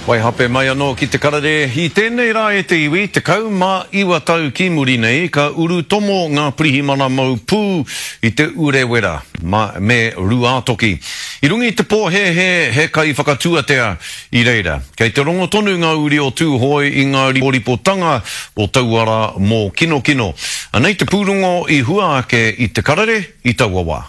Waihape mai anō ki te karere, i tēnei rā e te iwi, 19 tau ki muri nei ka urutomo ngā pirihimana mau pū i Te Urewera me Rūātoki. I runga i te pōhēhē he kaiwhakatuatea i reira. Kei te rongo tonu ngā uri o Tūhoe i ngā riporipotanga o taua rā mōkinokino. Anei te pūrongo i hua ake i te karere i taua wā.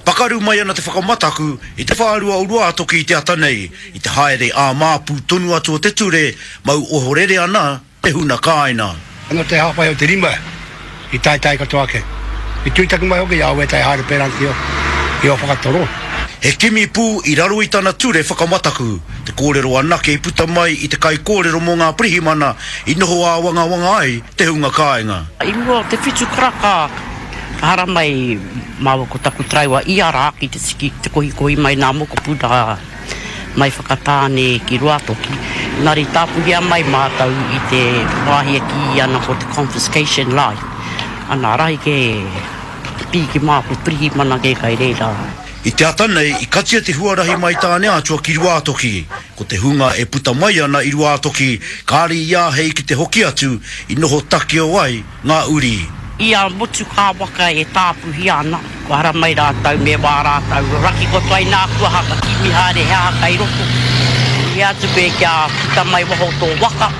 Pakaru mai ana te whakamataku i te whārua o Ruātoki i te ata nei, i te haere ā-māpū tonu atu o te ture, mau ohorere ana te huna kāina. Ano te hāpai o te rima i taetae katoa ake. I tūtaki mai hoki i a wētahi haere pērā ki o whakatoro. He kimi pū i raro i tana ture whakamataku, te kōrero anake i puta mai i te kaikōrero mō ngā pirihimana i noho āwangawanga ai te hunga kāinga. I mua o te whitu karaka Ka haramai māua ko taku taraiwa ia rā ki te tiki, te kohikohi mai nā mokopuna mai Whakatāne ki Ruatoki. Engari tāpuhia mai mātou i te wāhi e kīia ana ko te confiscation line. Ana, rahi kē te pīki mā ko Pirihimana kē kai reira. I te ata nei, i katia te huarahi mai Tāneatua ki Ruātoki. Ko te hunga e puta mai ana i Ruātoki, kāre i āhei ki te hoki atu, i noho takeo ai ngā uri. I a motu kā waka e tāpuhia ana, kua haramai rātou me wā rātou raki katoa inā kua haka kimi haere he aha kai roto. I atu koe kia puta mai waho tō waka,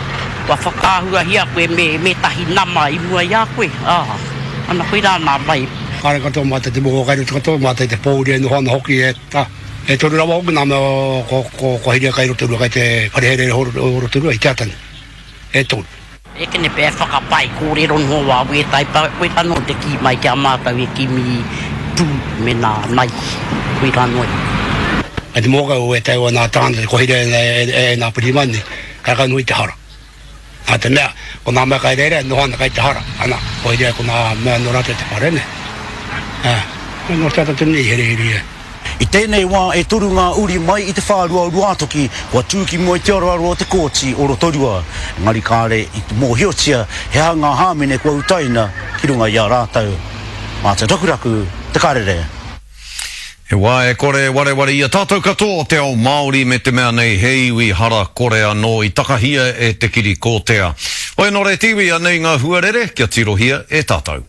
kua whakaahuahia koe me mētahi nama i mua i a koe, ā, ana koirā nā mai. Kāre katoa mātou te moho kai roto katoa, mātou te pōuri e noho ana hoki e ta, e toru rawa hoki nā mea ko, ko, ko Hiria kai Rotorua, kai te whare herehere o Rotorua i te ata nei, e toru. Ekene pea e whakapae kōrero noa wā wētai pa, koirā noa te kī mai ki a mātou e kimi pū me nā naihi, koirā noa iho. Kei te mōkai o wētai o nā tāngata te kohire e nā Pirimani, kai ka nui te hara. Nā te mea, ko nā mea kai reira e noho ana kai te hara, ana, koirea ko nā mea nō rātou te whare nei. Ā, nō te ata tonu nei i herehere ia. I tēnei wā e toru ngā uri mai i te whārua o Ruātoki kua tū ki mua i te aroaro o te Kōti o Rotorua, engari kāre i mōhiotia he aha ngā hāmene kua utaina ki runga i a rātou. Mā te Rakuraku te karere. He wā e kore e wareware i a tātou katoa o te ao Māori me te mea nei he iwi hara kore anō i takahia e te kiri kōtea. Hoi anō re te iwi, anei ngā huarere kia tirohia e tātou.